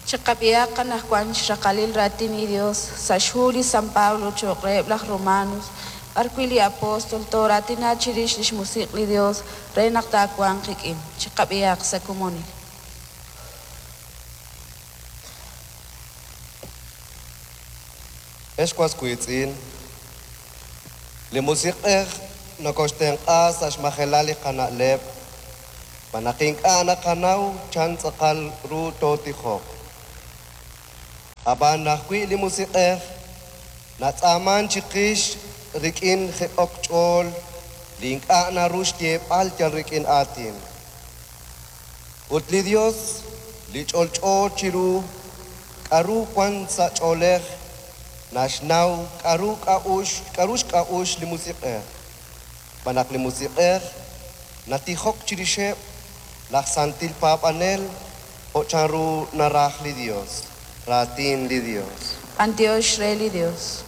Chiqab'ihaq anajwan xraqalil raatin li Dios sa' xhu li San Pablo cho'q reheb' laj Romanos, b'ar wi' li Apostol tooraatina chirix lix Musiq' li Dios re naq taawanq qik'in. Chiqab'ihaq sa' komonil. Ex was wiitz'in, li Musiq'ej nokoxtenq'a sa' xmajelal li qana'leb', xb'aan naq ink'a' naqanaw chan tz'aqal ru tootijoq. Ab'an ajwi' li Musiq'ej natz'aaman chiqix rik'in jiq'ok ch'ool li ink'a' naru xyeeb'al yal rik'in aatin. Ut li Dios li ch'olch'o chiru k'aru wank sa' ch'oolej naxnaw k'aru k'a'uxl k'aru xk'a'uxl li Musiq'ej, xb'aan naq li Musiq'ej natijok chirixeb' laj santil paab'anel jo' chanru naraj li Dios. Raatin li Dios. B'antiox re li Dios.